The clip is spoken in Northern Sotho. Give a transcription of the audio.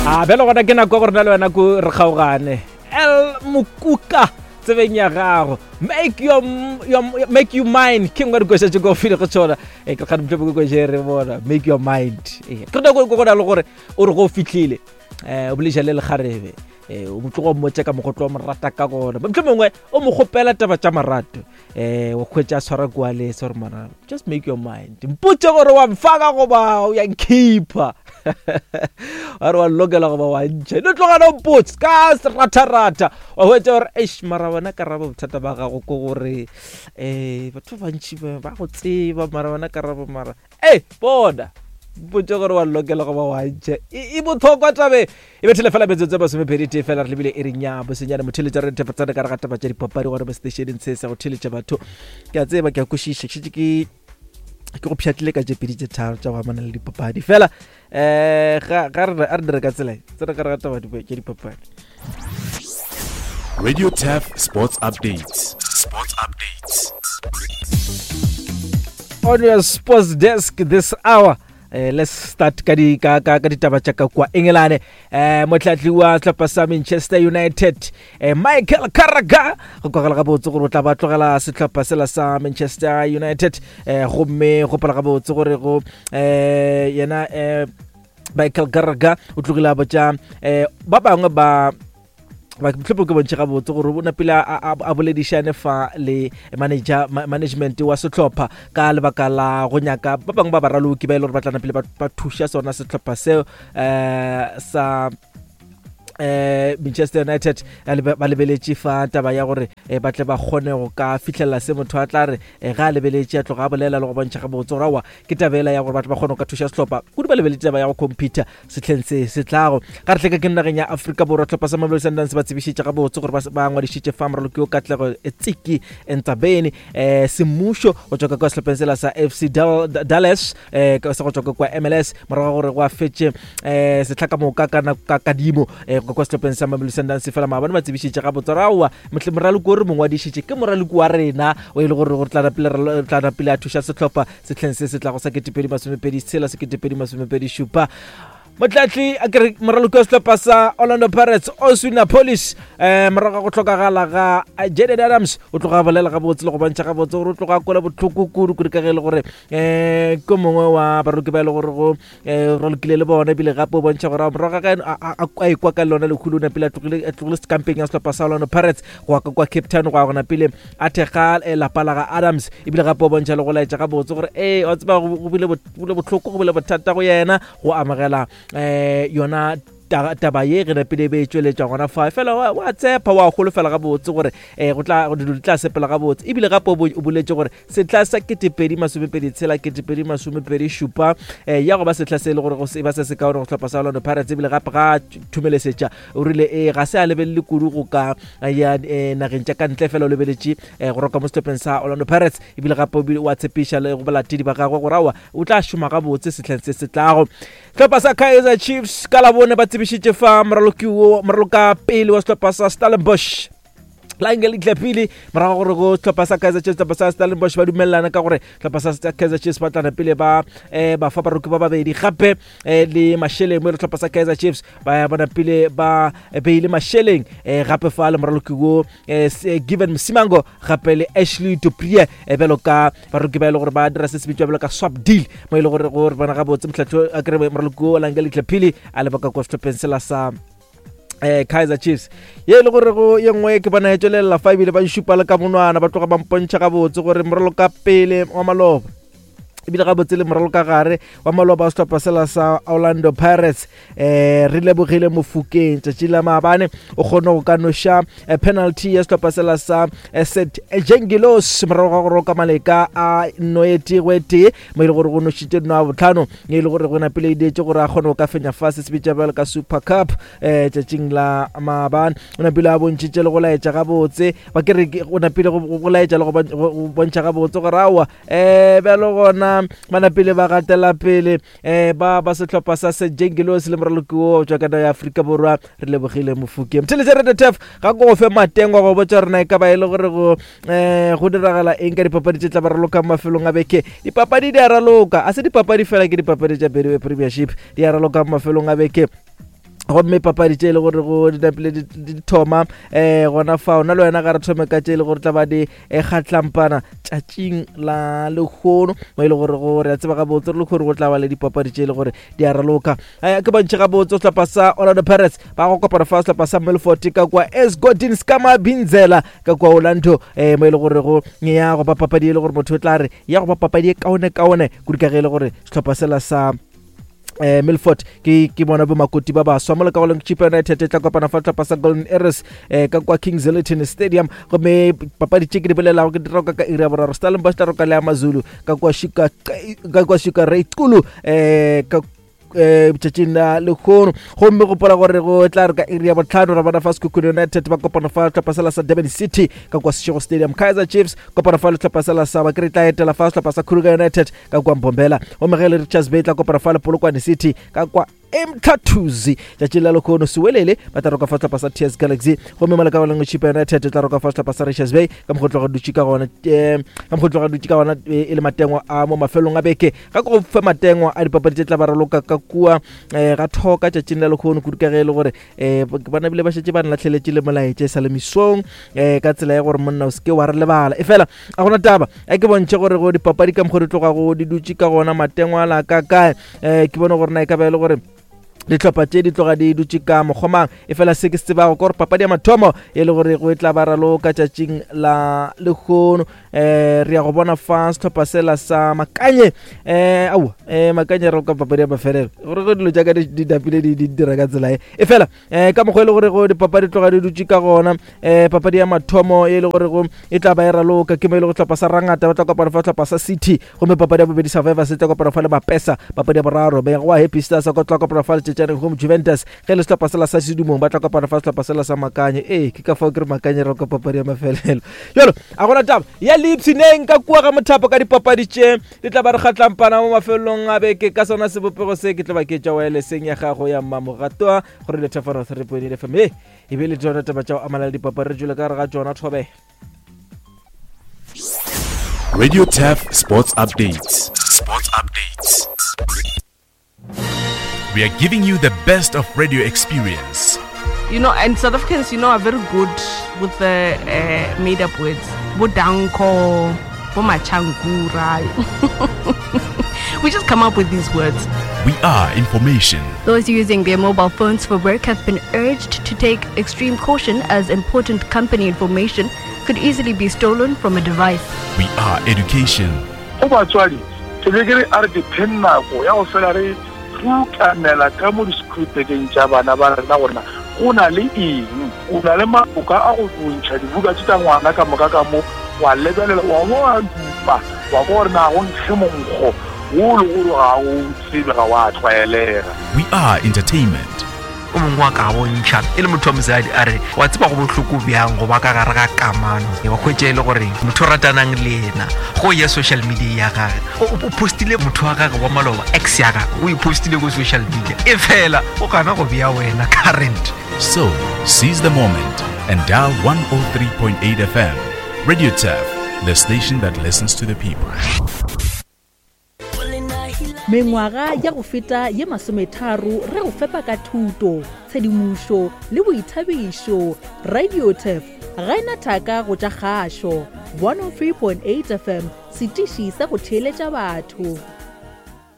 A bjale gona ke nako ya gore na le wena ko re kgaogane. El Mokuka tsebeng ya gago. Make your, your make you mine. Ke nngwe dikoša tše ko file go tšona. E ke kgane motho ko je re bona. Make your mind. E ke re go go na le gore o re go fihlile. Eh o boleša le lekgarebe. Eh o motlogo mmotse ka mogotlo wa morata ka gona. Mohlomongwe mongwe o mo kgopela taba tša marato. Eh o khwetša a tshwara kwa le se gore mara just make your mind. Mpotse gore wa mfaka goba o ya nkhipha. Wa re wa lokela goba wa ntšha. No tloga no mpotse ka ratha-ratha. Wa hwetša gore eish mara wena karabo bothata ba gago ke gore eh batho ba bantši ba go tseba mara wena karabo mara e bona mpotse gore wa lokela goba wa ntšha e botlhokwa tabe e bethele fela metsotso e masomepedi tee fela re lebile e re nya bosenyane motheletša re thepatsane ka re ga taba tša dipapadi gore mo seteišeneng se sa go theletša batho ke a tseba ke a kwešiša ke šetše ke ke go pšhatlile ka tše pedi tše tharo tša go amana le dipapadi fela um ga re a re dire ka tsela e tsena ka re ga taba tša dipapadi Radio Taf Sports Updates. Sports Updates. On your sports desk this hour. Eh, let's start ka di ka ka ka ditaba tša ka kwa Engelane eh motlhatli wa sehlopha sa Manchester United eh, Michael Carragher go kwagala gabotse gore o tla ba tlogela sehlopha sela sa Manchester United eh gomme gopola gabotse gore go eh yena eh Michael Carragher o tlogile a botša eh ba bangwe ba mohlomong ke bontšhe gabotse gore o napile a boledišane fa le manager management wa sehlopha ka lebaka la go nyaka ba bangwe ba baraloki ba e le gore ba tla napile ba thuša sona sehlopha seo um sa eh Manchester United ba lebeletše fa taba ya gore eh, ba tle ba kgone go ka fihlelela se motho a tla re eh, ga a lebeletše a tloga a bolela le go bontšha gabotse gore aowa ke tabela ya gore batho ba kgone go ka thuša sehlopha kudu ba lebeletše taba ya go computer sehleng se se tlago. Ga re hleka ke nageng ya Afrika Borwa, hlopha sa Mamelodi Sundowns ba tsebišitše gabotse gore ba ngwadišitše fa moraloki yo Katlego Tsiki Ntsabeni eh, semmušo go tšwa ka kwa sehlopheng sela sa FC Dallas eh, sa go tšwa ka kwa MLS morago ga gore go a fetše eh, sehla ka moka ka ka kadimo eh, go kwa sehlopheng sa Mamelodi Sundowns. Fela maabane ba tsebišitše gabotse gore aowa moraloki o re mo ngwadišitše ke moraloki wa rena o e le gore gore tla napile a thuša sehlopha sehleng se se tlago sa 2026 2027. Motlatli a kere moraloki wa sehlopha sa Orlando Pirates Oswin Appollis um morago ga go hlokagala ga Jaden Adams o tloga a bolela gabotse le go bontšha gabotse gore o tloga a kwela bohloko kudu kudu ka ge e le gore um ke mongwe wa baraloki ba e le gore go um ralokile le bona ebile gape o bontšha gore morago ga a ekwa ka lona lekhulu o napile a tlogile sekampeng ya sehlopha sa Orlando Pirates go ya ka kwa Cape Town go ya gona pele a thekga eh, lapa la ga Adams ebile gape o bontšha le go laetša gabotse gore ee wa tseba go bile bohloko go bile bothata go yena go amogela um yona taba ye ge napile e be e tšweletšwa gona fa fela wa tshepa wa holofela gabotse gore um go tla dilo di tla sepela gabotse ebile gape o boletše gore Sehla sa 2026 2027 eh, ya go ba sehla se e le gore go se ba se se kaone go sehlopha sa Orlando Pirates ebile gape ga thumelesetša o rile e ga se a lebelele kudu go ka eh, ya eh, nageng tša ka ntle fela o lebeletše eh, go roka mo sehlopheng sa Orlando Pirates ebile gape o bile o a tshepiša le go balatedi ba gagwe gore aowa o tla šoma gabotse sehleng se se tlago. Sehlopha sa Kaizer Chiefs ka Labone ba tsebišitše fa moraloki wo moraloka pele wa sehlopha sa Stellenbosch Langeli Tlapile morago gore go sehlopha sa Kaizer Chiefs sehlopha sa Stellenbosch ba dumelelana ka gore sehlopha sa Kaizer Chiefs ba tlana pele ba eh, ba fa baroki ba babedi gape eh, le mašeleng mo e le sehlopha sa Kaizer Chiefs ba ya bona pele ba eh, beile mašeleng eh, gape fa le moraloki wo eh, eh, Given Msimango gape le Ashley Dupree eh, bjalo ka baroki ba e le gore ba dira se se bitswa bjalo ka swap deal mo e le gore gore bona gabotse motlhatlo a kry moraloki wo Langeli Tlapile a leba ka kwa sehlopheng sela sa eh Kaizer Chiefs ye e le gore go ye nngwe ke bona e tšwelelela fa ebile ba šupa le ka monwana ba tloga ba mpontšha gabotse gore moralo ka pele wa maloba ebile gabotse le moralo ka gare wa maloba wa sehlopha sela sa Orlando Pirates eh re lebogile mofokeng tšatši la maabane o kgone go ka noša eh, penalty ya sehlopha sela sa eh, St Jengilos morago ga go roka maleka a noete go etee mo e le gore go nošitše nno a botlhano e le gore go napile e dietše gore a kgone go ka fenya fa se se bitša bjalo ka super cup um tšatšing la maabane o napile a bontšhitše le go laetša gabotse ba ke re o napile go laetša le go bontšha gabotse gore aowa um bjalo gona ba napile ba gatela pele um ba ba sehlopha sa sejengelos le moraloki wo tšwa ka ya Afrika Borwa re lebogile mofuke mtheletše re tef ga ko go fe matengwa go botša rena e ka ba e le gore go um go diragala eng ka dipapadi tše tla ba raloka mafelong a beke dipapadi di a raloka a se dipapadi fela ke dipapadi tša Betway Premiership di a raloka mafelong a beke. Gomme papadi tše e le gore go di napile di thoma um gona fao, na le wena ga re thome ka tše e le gore tla ba di eh, kgatlampana tšatšing la lehono, mo e le gore go re a tseba gabotse re le gore go tla ba le dipapadi tše e le gore di a raloka. Um ke bontšhe gabotse sehlopha sa Orlando Pirates ba go kopana fa sehlopha sa Milford ka kwa Esgodin Skamabinzela ka kwa Orlando, um mo e le gore go ya go ba papadi e le gore motho o tla re ya go ba papadi e kaone kaone kudu, ka ge e le gore sehlopha sela sa Milford ke bona bomakoti ba baswa. Mo le ka goleng Chippa United e tla kopana fa tlhopha sa Golden Arrows ka kwa King Zeliton Stadium, gomme papadi tše ke di bolelago ke di roka ka iri ya 3. Stellenbosch tla roka le ya Mazulu ka kwa Shika ka kwa Shika Reitkulu ka tšatšing la lehono. Gomme gopola gore go tla re ka iri ya 5 ra bona fa Sekhukhune United ba kopana fa tlhopha sela sa Durban City ka kwa Seshego Stadium. Kaizer Chiefs kopana fa le tlhopha sela sa Bakere tla etela fa sehlopha sa Kruger United ka kwa Mbombela, gomme ge le Richards Bay tla kopana fa le Polokwane City ka kwa Emthathuzi. Tšatšing la lehono Sewelele ba tla roka fa sehlopha sa TS Galaxy, gomme mo ka lengwe Chippa United tla roka fa sehlopha sa Richards Bay ka mokgwa tloga dutše ka gona ka mokgwa tloga dutše ka gona e le matengwa a mo mafelong a beke. Ga go fe matengwa a dipapadi tše tla ba raloka ka kua ga thoka tšatšing la lehono, kudu ka ge e le gore ba nabile ba šetše ba nlatlheletše le molaetše sa le mesong ka tsela ya gore monna o seke wa re lebala. E fela a gona taba a ke bontšhe gore go dipapadi ka mokgwa di tlogago di dutše ka gona matengwa la ka kae, ke bone gore na e ka ba e le gore dihlopha tše di tloga di dutše ka mokgomang. E fela se ke se tsebago ke gore papadi ya mathomo e le gore go e tla ba raloka tšatšing la lehono, re ya go bona fa sehlopha sela sa Makanye, aowa, Makanye raloka papadi ya mafelelo, gore go dilo tša ka di dapile di dira ka tsela e. E fela ka mokgwa e le gore go dipapadi tloga di dutše ka gona, papadi ya mathomo e le gore go e tla ba e raloka ke mo e le go sehlopha sa Rangata ba tla kopana fa sehlopha sa City, gomme papadi ya bobedi Survivor se tla kopana fa le Mapesa, papadi ya boraro Mega wa Happy Stars ko tla kopana fa le Tšetšaneng Home Juventus, ge le sehlopha sela sa Sedumong ba tla kopana fa sehlopha sela sa Makanye. Ee, ke ka fao ke re Makanye raloka papadi ya mafelelo. Jalo a gona taba ya leipshineng ka kua ga mothapo ka dipapadi tše di tla ba re kgatlampana mo mafelelong a beke ka sona sebopego se. Ke tla ba ke tša wirelesseng ya gago ya mmamoratwa gore le thefano 3.8 FM e e be le tsona taba tša go amana le dipapadi re tšwele ka gare ga tšona thobe. Radio Turf Sports Updates. Sports Updates. We are giving you the best of radio experience. You know, and South Africans, you know, are very good with the made-up words. Bodanko, Bomachankura. We just come up with these words. We are information. Those using their mobile phones for work have been urged to take extreme caution as important company information could easily be stolen from a device. We are education. Go batswadi, ke be ke re a re dipheng nako ya go fela re rutamela ka mo di-schoolbageng tša bana ba rena gore na go na le eng. O na le maboka a go bontšha dibuka tše tša ngwana ka moka ka mo, wa lebelela wa bo wa dupa wa kwa gore na go nkge monkgo wo le gore ga o tsebe, ga wa tlwaelega. We are entertainment. O mongwe wa ka bontšha e le motho wa mosadi a re wa tseba go bohloko bjang go ba ka gare ga kamano, wa hwetša e le gore motho o ratanang le yena go ya social media ya gage o postile motho wa gage wa maloba, ex ya gage o e postile ko social media, e fela o gana go bea wena current. So, seize the moment and dial 103.8 FM. Radio Turf, the station that listens to the people. Mengwaga ya go feta ye 30 re go fepa ka thuto, tshedimošo le boithabišo. Radio Turf ga e na thaka go tša kgašo. 103.8 FM, setiši sa go theeletša batho.